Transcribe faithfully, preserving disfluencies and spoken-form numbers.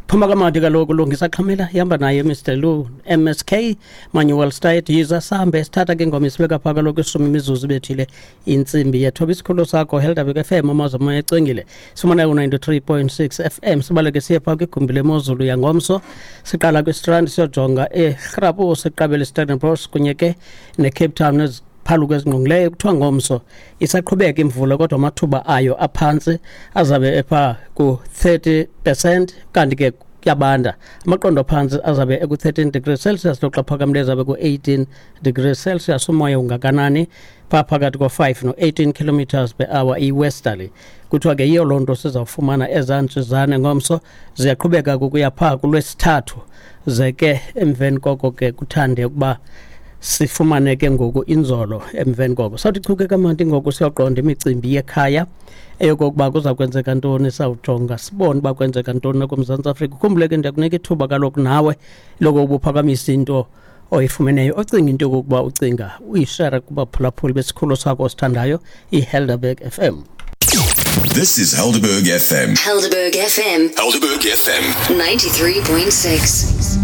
Phuma kamandi kaloku, Lungisa Xhamela, ihamba naye Mister Lu, M S K, Manuel State. Yiza sihambe, sithatha ke ngoma isibeka phaa kaloku ishumi imizuzu ibethile intsimbi yethoba. Isikhululo sakho Helderberg F M, amazwi amoya ecwengile, sifumana ku-ninety-three point six F M. Sibaleke siye phaa kwigumbi lemozulu yangomso. Siqala kwiStrand, siyojonga eRhapu, siqabele Stellenbosch kunye ke neCape Town neziphaluko ezingqongileyo. Kuthiwa ngomso isaqhubeka imvula, kodwa amathuba ayo aphantsi, azabe epha ku-thirty percent, kanti ke kuyabanda. Amaqondo aphantsi azabe eku-thirteen degrees Celsius, loxa phakamileyo azabe ku-eighteen degrees Celsius. Umoya ungakanani? Phaa phakathi ko-five no-eighteen kilometers per hour, i-westerly. Kuthiwa ke yiyo loo nto sizawufumana ezaa ntshizane ngomso, ziyaqhubeka kukuya phaa kuLwesithathu, ze ke emveni koko ke kuthande ukuba sifumane ke ngoku inzolo emveni koko. Sawuthi chuke kamandi ngoku, siyoqonda imicimbi yekhaya, eyokokuba kuza kwenzeka ntoni. Sawujonga sibone uba kwenzeka ntoni nakuMzantsi Afrika. Ukhumbule ke, ndiyakunika ithuba kaloku nawe lokokuba uphakamise into oyifumeneyo, ocinga into yokokuba ucinga uyishare kubaphulaphuli besikhululo sakho osithandayo, iHelderberg F M. This is Helderberg F M. Helderberg F M. Helderberg F M. ninety-three point six.